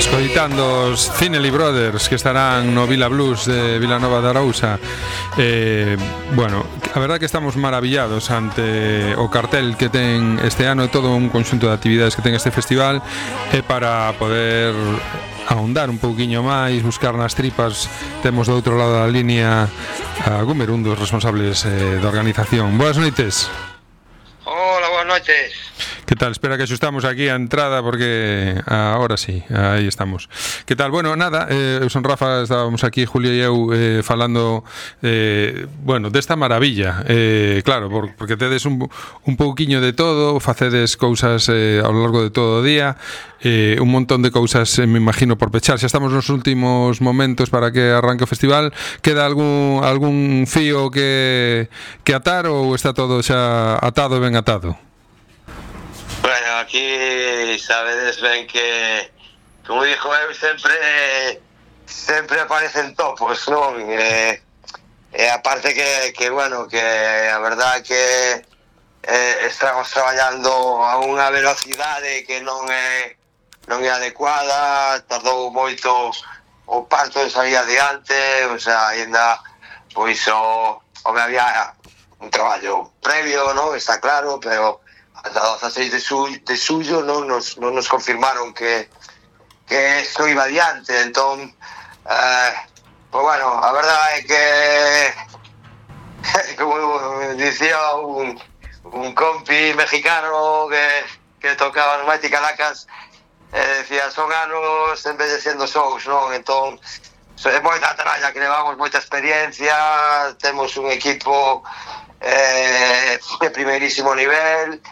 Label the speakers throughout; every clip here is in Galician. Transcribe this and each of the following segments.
Speaker 1: Escoitando os Cinely Brothers que estarán no Vila Blues de Vilanova de Arousa. Bueno, a verdade que estamos maravillados ante o cartel que ten este ano e todo un conxunto de actividades que ten este festival, e para poder ahondar un pouquiño máis, buscar nas tripas, temos do outro lado da línea a Gumer, un dos responsables da organización. Boas noites.
Speaker 2: Hola, boas noites.
Speaker 1: Que tal? Espera que axustamos aquí a entrada porque ahora sí, aí estamos. Que tal? Bueno, nada, eu son Rafa, estábamos aquí Julio e eu falando bueno, desta maravilla. Claro, porque tedes un pouquiño de todo, facedes cousas ao largo de todo o día, un montón de cousas, me imagino, por pechar. Xa estamos nos últimos momentos para que arranque o festival. Queda algún fío que atar ou está todo xa atado e ben atado?
Speaker 2: Bueno, aquí sabedes ben que, como dixo eu, sempre aparecen topos, non? E aparte que bueno, que a verdade que estamos traballando a unha velocidade que non é adecuada, tardou moito o parto de salir adiante, o sea, ainda, pois, había un traballo previo, non? Está claro, pero ata 16 de suyo non nos confirmaron que isto iba adiante, entón pues bueno, a verdade é que como dicía un compi mexicano que tocaba no Mighty Caracas, decía, son anos envellecendo sous, non? Entón é moita tralla que levamos, moita experiencia, temos un equipo de primeirísimo nivel.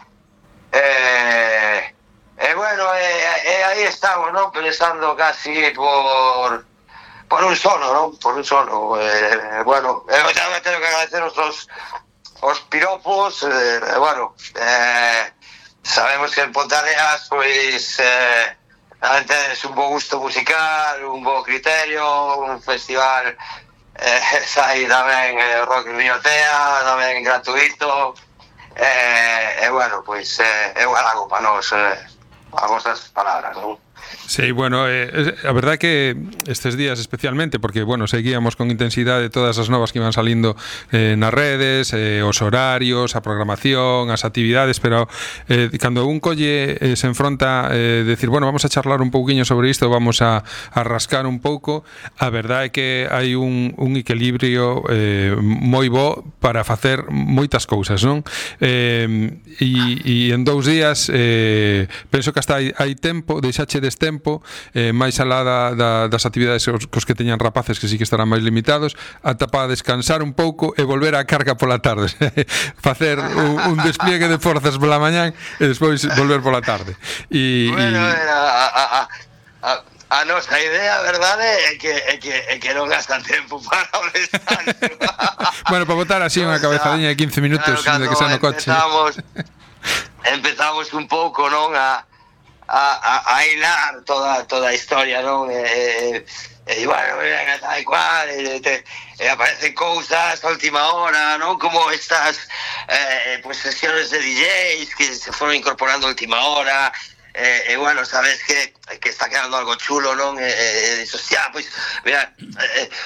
Speaker 2: Bueno, aí estamos, ¿no? Pensando casi por un sono, ¿no? Por un sono. Bueno, eu xa tengo que agradecer os piropos. Bueno, sabemos que en Pontareas, pois, tenes un bo gusto musical, un bo criterio, un festival sai tamén rock en Riotea, tamén gratuito. Bueno, pois é un halago para nós as vosas palabras, non?
Speaker 1: Sí, bueno, a verdade que estes días especialmente, porque, bueno, seguíamos con intensidade todas as novas que iban salindo nas redes, os horarios, a programación, as actividades, pero cando un colle se enfronta decir, bueno, vamos a charlar un pouquiño sobre isto, vamos a rascar un pouco, a verdade é que hai un equilibrio moi bo para facer moitas cousas, non? E en 2 días penso que hasta hai tempo, deixachedes tempo, máis alá das actividades cos que teñan rapaces que sí que estarán máis limitados, ata para descansar un pouco e volver á carga pola tarde. Facer un despliegue de forzas pola mañán e despois volver pola tarde.
Speaker 2: Bueno, a nosa idea, verdade, é que non gastan tempo para o descanso.
Speaker 1: Bueno, para botar así unha cabezadiña de 15 minutos, claro, de que xa no coche.
Speaker 2: Empezamos un pouco, non, a hilar toda a historia, non? E bueno, tal e cual, aparecen cousas a última hora, non? Como estas pues sesiones de DJs que se foron incorporando a última hora, e bueno, sabes que está quedando algo chulo, non? E dices, hostia, pues mira,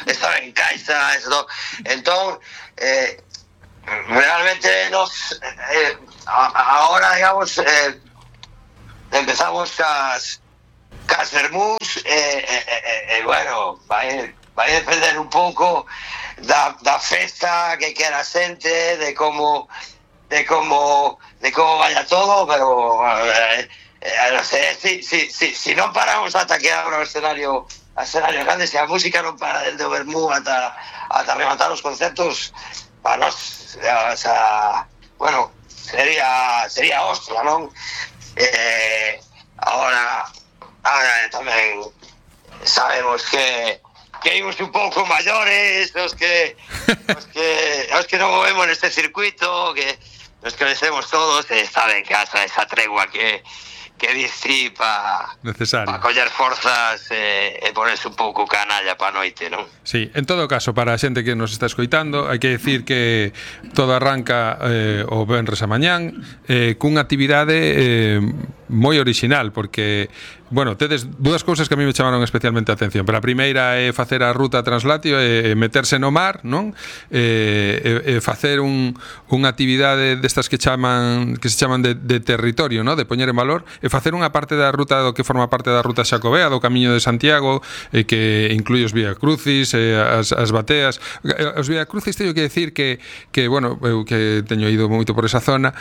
Speaker 2: estaba en casa, eso, entón realmente nos ahora, digamos, empezamos cas vermús e bueno, vai depender un pouco da festa que quera a xente, de como vaya todo, pero non sei, si non paramos ata que abra o escenario grande, se a música non para desde o vermú ata rematar os concertos, para nós, o sea, bueno, sería hostia, non? Ahora tamén sabemos que imos un pouco maiores, os que non movemos neste circuito, que nos conhecemos todos, e saben que hasta esa tregua que diste para coller forzas e ponerse un pouco canalla para a noite, non?
Speaker 1: Sí, en todo caso, para a xente que nos está escoitando, hai que decir que todo arranca o venres a mañán cunha actividade moi original, porque bueno, tedes dúas cousas que a mí me chamaron especialmente a atención. Pero a primeira é facer a ruta translatio e meterse no mar, non? E facer unha actividade destas que se chaman de territorio, non? De poñer en valor, e facer unha parte da ruta do que forma parte da ruta xacobea, do Camiño de Santiago, que inclui os Viacrucis, as bateas. Os Viacrucis teño que decir que bueno, eu que teño ido moito por esa zona,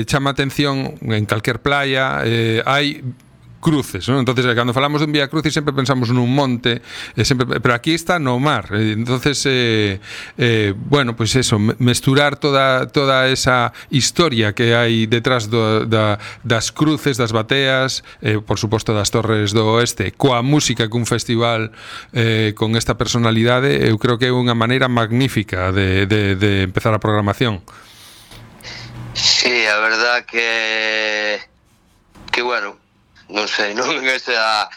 Speaker 1: chama atención en calquer playa, hai cruces, ¿no? Entonces, cando falamos dun Vía Crucis sempre pensamos nun monte, pero aquí está no mar. Entonces, bueno, pues eso, mesturar toda esa historia que hai detrás das cruces, das bateas, por suposto das Torres do Oeste, coa música cun festival con esta personalidade, eu creo que é unha maneira magnífica de empezar a programación.
Speaker 2: Sí, a verdad que bueno, non sei, non esa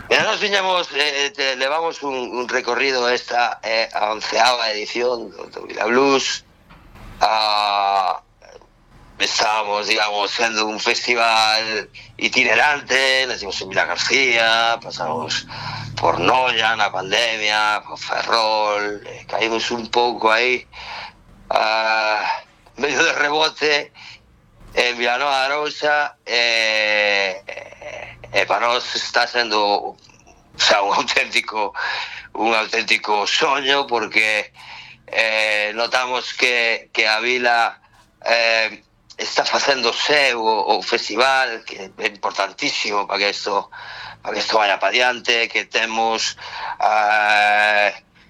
Speaker 2: nos viñamos, levamos un recorrido esta a 11ª edición do Vila Blues. Estábamos, digamos, sendo un festival itinerante, nacimos en Vila García, pasamos por Noia na pandemia, por Ferrol, caímos un pouco aí medio de rebote en Vilanova de Arousa, e para nós está sendo, o sea, un auténtico soño, porque notamos que a vila está facendo seu o festival, que é importantísimo para que isto vaya para diante, que temos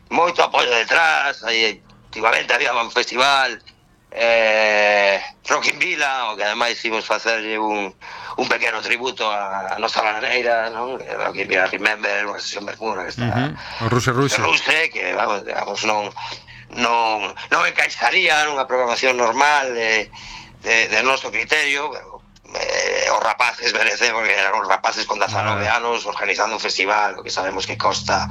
Speaker 2: moito apoio detrás. Aí últimamente había un festival Rock in Vila, o que ademais imos facerlle un pequeno tributo a nosa bananeira, non? Rock in Vila Remember, unha sesión Bermuda que está
Speaker 1: o Ruse,
Speaker 2: que vamos, digamos, non encaixaría nunha programación normal de noso criterio, pero os rapaces merecen, porque eran os rapaces con 19 anos organizando un festival, o que sabemos que costa,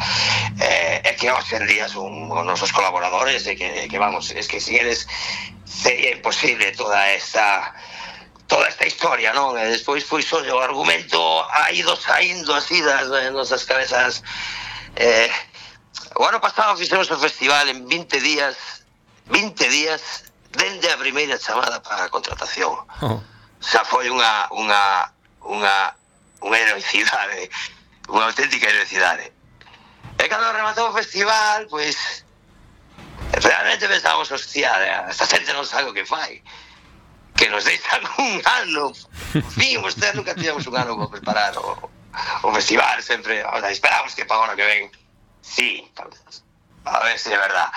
Speaker 2: e que hoxe en día son os nosos colaboradores, e que vamos, es que si eres sería imposible toda esta historia, non? E despois foi só o argumento ha ido saindo así das nosas cabezas. O ano pasado fixemos o festival en 20 días dende a primeira chamada para a contratación. Xa foi unha heroicidade, unha auténtica heroicidade. E cando rematou o festival, pois realmente pensábamos, hostia, esta xente non sabe o que fai, que nos deixan un ano. Fin, ustedes nunca tiñamos un ano para preparar o festival, sempre, o sea, esperamos que para o ano que ven, sí, a ver se é verdad.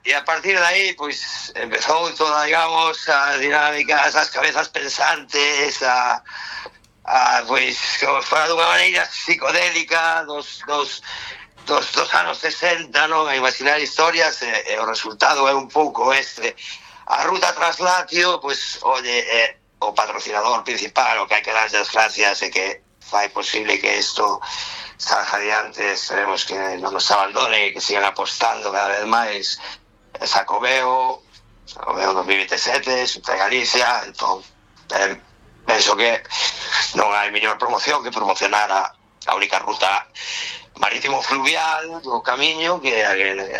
Speaker 2: E a partir de aí, pois, empezou toda, digamos, as dinámicas, as cabezas pensantes, pois, fora dunha maneira psicodélica dos anos 60, non? A imaginar historias, e o resultado é un pouco este. A ruta Translatio, pois, oye, o patrocinador principal, o que hai que dar as gracias, e que fai posible que isto salga adiante. Esperemos que non nos abandonen e que sigan apostando cada vez máis. Xacobeo 2027, Xunta de Galicia. Entón, penso que non hai mellor promoción que promocionar a única ruta marítimo fluvial do Camiño que a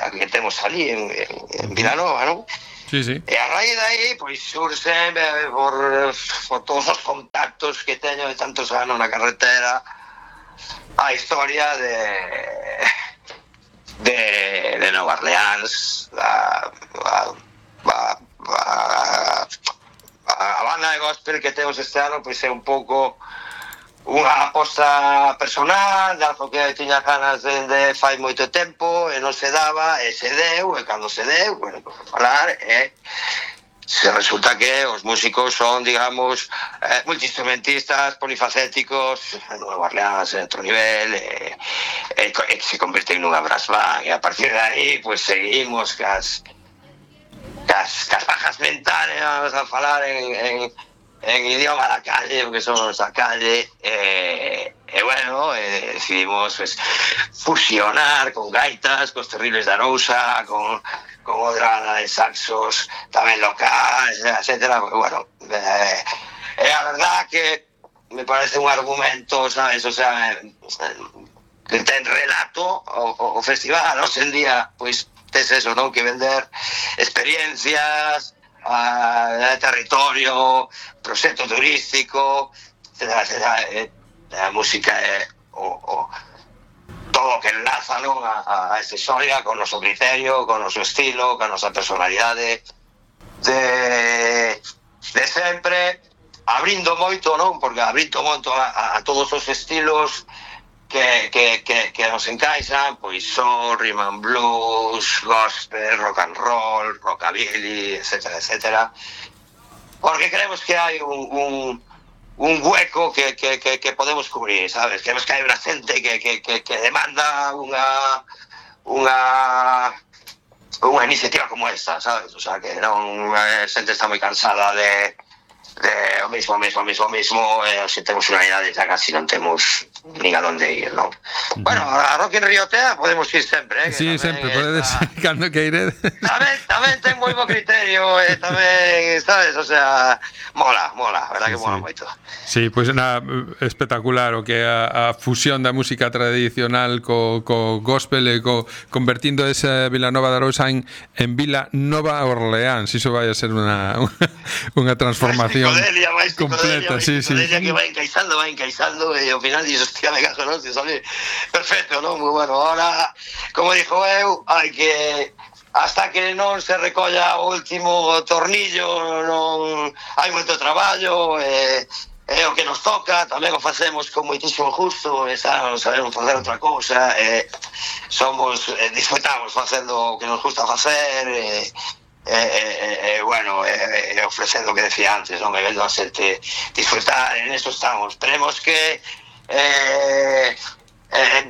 Speaker 2: que temos ali en Vilanova, non?
Speaker 1: Sí, sí.
Speaker 2: E a raíz de aí, pois, surse por todos os contactos que teño de tantos anos na carretera, a historia de Nova Orleans, a banda de gospel que temos este ano, pois é un pouco unha aposta personal de algo que tiña ganas de fai moito tempo e non se daba, e se deu, e cando se deu, bueno, por falar, se resulta que os músicos son, digamos, multiinstrumentistas, polifacéticos, en Nueva Orleans, en outro nivel, e se convirten nunha brass band, e a partir de aí, pues, seguimos cas bajas mentales, vamos a falar en idioma da calle, porque somos da calle, bueno, decidimos pues, fusionar con gaitas, cos Terribles de Arousa, con outra de saxos tamén locais, etcétera. Bueno, a verdad que me parece un argumento, sabes, o sea, que ten relato o festival, hoxe en día, pois, tes eso, non? Que vender experiencias, territorio, proxecto turístico, etcétera. A música é todo o que enlaza, non? A esta historia, con o noso criterio, con o noso estilo, con a nosa personalidade de sempre, abrindo moito, non? Porque abrindo moito a todos os estilos que nos encaixan, pois soul, rhythm and blues, gospel, rock and roll, rockabilly, etcétera. Porque creemos que hai un hueco que podemos cubrir, sabes? Creemos que hai unha xente que demanda unha iniciativa como esta, sabes? O sea, que non, a xente está moi cansada de o mismo, se temos unha idade xa casi non temos nin a donde ir, non? Bueno, a Rock in Rio Tea podemos ir sempre,
Speaker 1: Sí, sempre, podedes, cando que iredes.
Speaker 2: Tamén ten moi bo criterio, tamén, sabes, o sea, mola, a verdad que mola moito.
Speaker 1: Sí, pois espectacular o que a fusión da música tradicional co gospel e convertindo esa Vilanova de Arousa en Vila Nova Orleans, iso vai a ser unha transformación completa, sí.
Speaker 2: Que vai encaixando e ao final dices, hostia, me caso, non? Se sale perfecto, non? Moi bueno, ahora, como dixo eu, hai que hasta que non se recolla o último tornillo, non hai moito traballo, é o que nos toca, tamén o facemos con moitísimo gusto, non sabemos facer outra cousa, disfrutamos facendo o que nos gusta facer, bueno, ofrecendo o que decía antes, non? Vendo a xente disfrutar, en eso estamos. Esperemos que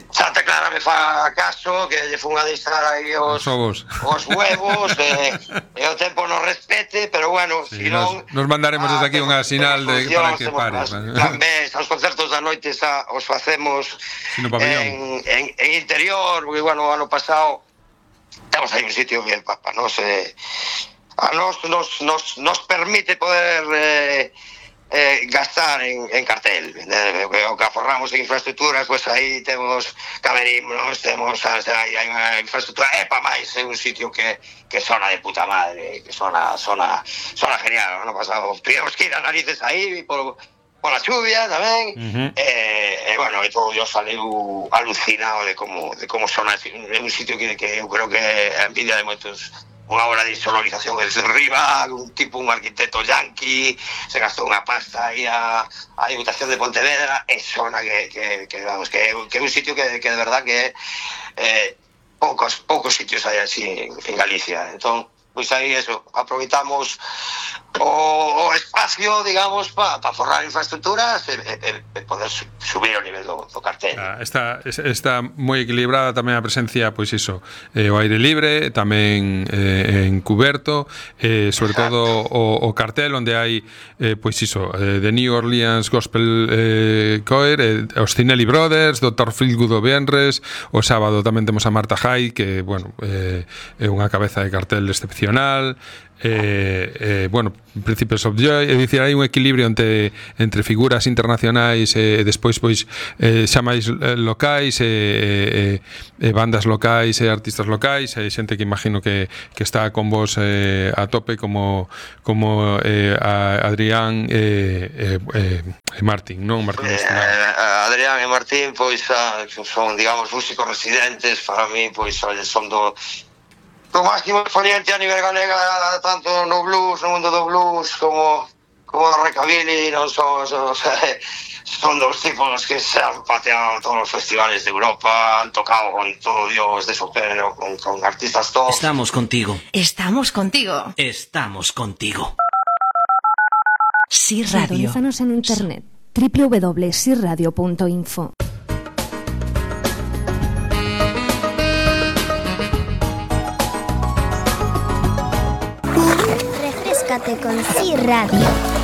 Speaker 2: Santa Clara me fa caso, que lle fun a deixar aí os huevos, e o tempo nos respete, pero bueno,
Speaker 1: sí, si non... Nos mandaremos desde aquí unha sinal para que pares.
Speaker 2: Tamén, os concertos da noite os facemos en interior, porque, bueno, o ano pasado temos aí un sitio que para nos permite poder gastar en cartel, o que aforramos en infraestructuras, pues aí temos camerinos, temos hai unha infraestructura, pa máis é un sitio que sona de puta madre, que sona genial. No pasado tuvimos que ir a narices aí pola chuvia tamén, bueno, e todo yo saleu alucinado de como sona, é un sitio que eu creo que é envidia de moitos. Unha obra de sonorización desde arriba, un arquitecto yanqui, se gastou unha pasta aí a Diputación de Pontevedra, e sona que é un sitio que de verdad que poucos sitios hai así en Galicia. Entón, pois aí eso, aproveitamos o espacio, digamos, para forrar infraestructuras e poder subir o nivel do cartel.
Speaker 1: Está moi equilibrada tamén a presencia, pois iso, o aire libre, tamén en cuberto, sobre todo o cartel onde hai, pois iso, The New Orleans Gospel Choir, os Cinelli Brothers, Dr. Feelgood o Venres, o sábado tamén temos a Marta Jai, que, bueno, é unha cabeza de cartel excepcional. Bueno, Príncipes of Joy, é dicir, hai un equilibrio entre figuras internacionais e despois pois xa máis locais e bandas locais e artistas locais, e xente que imagino que está con vos a tope como Adrián e Martín, non?
Speaker 2: Adrián e Martín pois son, digamos, músicos residentes para mí, pois son do máximo exponente a nivel galega, tanto no blues, no mundo do blues, como no rockabilly, non son dos tipos que se han pateado todos los festivales de Europa, han tocado con todo Dios de su género, con artistas top.
Speaker 3: Estamos contigo.
Speaker 4: Estamos contigo.
Speaker 3: Estamos contigo.
Speaker 5: Sí Radio. Sintonízanos en internet www.siradio.info.
Speaker 6: Refrescate con Sí Radio.